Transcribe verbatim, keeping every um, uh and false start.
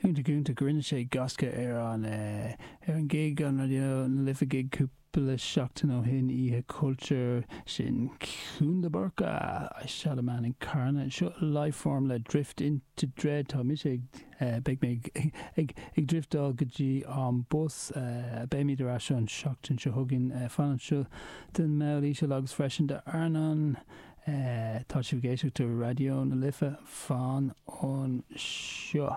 Iontach iontach rinne sé gaisce ar an ar an gig an Raidió na Life gig cúpla seachtain ó shin Oíche Culture sin Cún de Burca I Shot a Man in Carna seo Lifeform le Drift into Dread tá mise ag beidh mé ag ag driftáil go dtí an bus beimid ar ais an seachtain seo chugainn fan anseo den mball íseal agus freisin de Arnán tá sibh ag éisteacht Raidió na Life fan anseo.